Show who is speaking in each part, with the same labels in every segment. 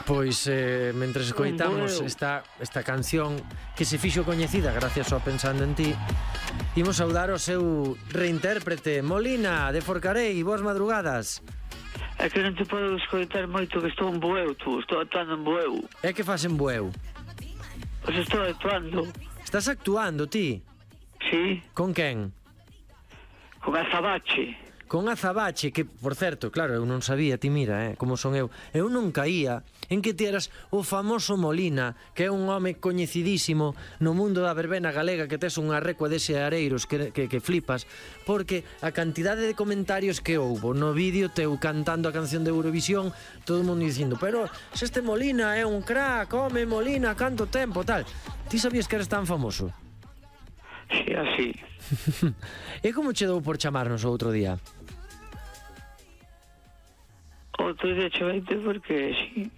Speaker 1: Pois, mentre escoitamos esta canción que se fixo coñecida gracias ao Pensando en Ti, imos saudar o seu reintérprete, Molina, de Forcarei. Boas madrugadas.
Speaker 2: É que non te podo escoitar moito, que estou en Bueu, estou actuando en Bueu.
Speaker 1: É que fas en Bueu?
Speaker 2: Pois estou actuando.
Speaker 1: Estás actuando, ti?
Speaker 2: Sí.
Speaker 1: Con quen?
Speaker 2: Con Azabache.
Speaker 1: Con Azabache, que, por certo, claro, eu non sabía, ti mira, como son eu. Eu non caía en que ti eras o famoso Molina, que é un home coñecidísimo no mundo da verbena galega, que tes unha recua dese areiros que flipas, porque a cantidade de comentarios que houbo no vídeo teu cantando a canción de Eurovisión, todo o mundo dicindo, pero se este Molina é un crack, home, Molina, canto tempo, tal. Ti sabías que eres tan famoso?
Speaker 2: Sí, así.
Speaker 1: E como che dou por chamarnos o outro día?
Speaker 2: Outro día cheveite porque sí.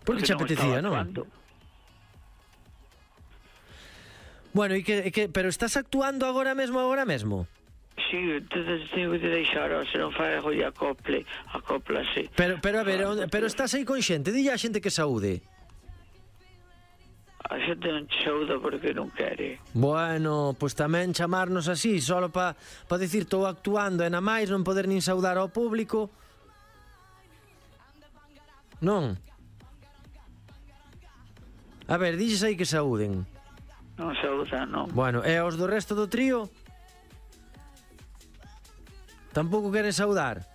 Speaker 1: Porque che apetecía, non? Bueno, pero estás actuando agora mesmo?
Speaker 2: Sí, entonces tengo que deixar, se non fai a acoplase.
Speaker 1: Pero a ver, pero estás aí con xente, dille a xente que saúde.
Speaker 2: A xente non te saúda porque non quere.
Speaker 1: Bueno, pois tamén chamarnos así, solo pa dicir estou actuando e na máis non poder nin saudar ao público. Non? A ver, dilles aí que saúden.
Speaker 2: Non saúdan, non.
Speaker 1: Bueno, e aos do resto do trío? Tampouco queren saudar?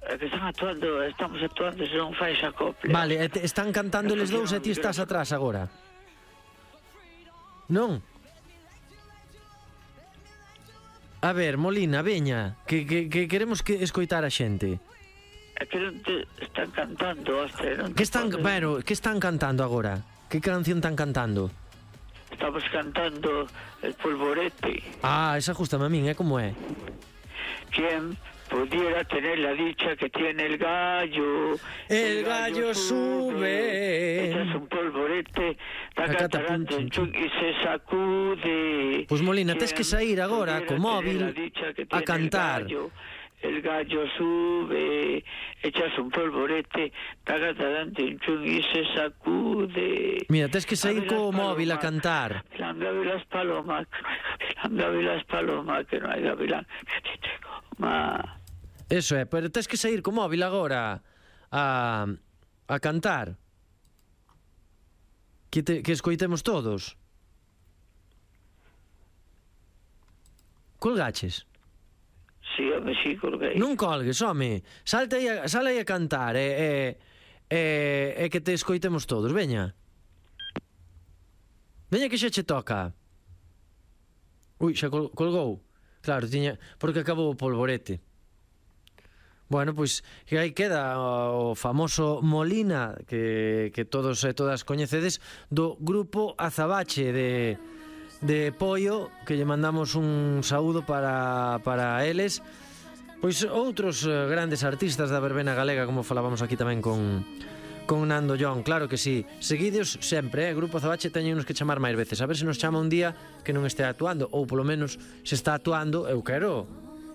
Speaker 2: É que estamos actuando, se non fai esa acople.
Speaker 1: Vale, están cantando eles dous e ti estás atrás agora. Non? A ver, Molina, veña, que queremos que escoitar a xente.
Speaker 2: É que non te están cantando, hostia.
Speaker 1: Que están cantando agora? Que canción están cantando?
Speaker 2: Estamos cantando El Polvorete.
Speaker 1: Ah, esa justame a min, como é?
Speaker 2: ¿Quién pudiera tener la dicha que tiene el gallo?
Speaker 1: El gallo sube.
Speaker 2: Echas un polvorete, y se sacude.
Speaker 1: Pues Molina, tes que sair agora co móvil a cantar.
Speaker 2: El gallo sube, echas un polvorete, y se sacude.
Speaker 1: Mira, tes que sair co móvil a cantar.
Speaker 2: Gavilán, gavilas palomas, gavilas palomas, que non hai gavilán.
Speaker 1: Eso é, pero tes que sair co móvil agora a cantar. Que escoitemos todos. Colgaches?
Speaker 2: Sí, home, sí, colguei.
Speaker 1: Non colgues, home. Sale aí a cantar e que te escoitemos todos, veña. Veña que xa che toca. Ui, xa colgou. Claro, porque acabou o polvorete. Bueno, pois que aí queda o famoso Molina que todos e todas coñecedes, do grupo Azabache de Poio, que lle mandamos un saúdo para eles. Pois outros grandes artistas da verbena galega, como falábamos aquí tamén con Nando John, claro que sí. Seguidos sempre, Grupo Azabache teñenos que chamar máis veces, a ver se nos chama un día que non este actuando, ou polo menos se está actuando, eu quero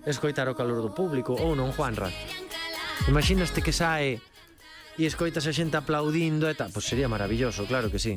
Speaker 1: escoitar o calor do público, ou non, Juanra? Imaginaste que sae e escoitas a xente aplaudindo e tal, pois sería maravilloso, claro que sí.